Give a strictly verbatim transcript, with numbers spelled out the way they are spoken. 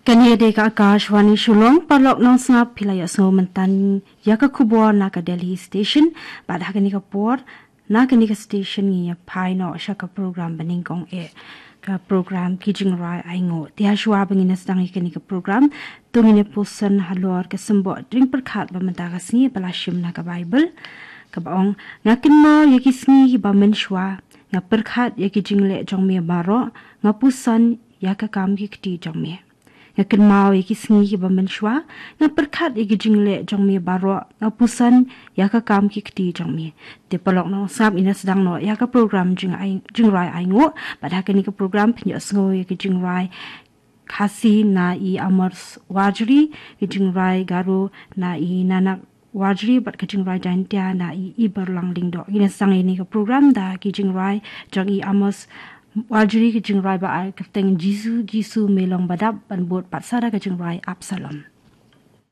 Kane dei ka Akashvani Shillong, paralok nongsngap, phi la ïohsngew mynta ïa ka khubor na ka Delhi Station. Bad ha kane ka por, na kane ka station ngin ïa phai noh sha ka program banyngkong eh, ka program Ki Jingrwai Ainguh. Te hashwa ba ngin ïa sdang ïa kane ka program, to ngin ïa puson halor ka symbud ring pyrkhat ba mynta ka sngi ba la shim na ka Baibl, kaba ong: Nga kynmaw ïa ki sngi kiba mynshuwa, nga pyrkhat ïa ki jingleh jong me baroh, nga puson ïa ka kam ki kti jong me. Nga kynmaw ïa ki sngi kiba mynshuwa, nga pyrkhat ïa ki jingleh jong me baroh, nga puson ïa ka kam ki kti jong me. Te paralok nongsngap, ngin ïa sdang noh ïa ka program Jingai-, Jingrwai Ainguh, bad ha kane ka program phin ïohsngew ïa ki jingrwai Khasi na i Amos Warjri, ki jingrwai Garo na i Nanak Warjri, bad ka jingrwai Jaintia na i Iberlang Lyngdoh. Ngin ïa sdang ïa kane ka program da ki jingrwai jong i Amos Warjri, ki jingrwai ba ar kyrteng Jisu, Jisu me long badap, ban bud pat sa da ka jingrwai Absalom.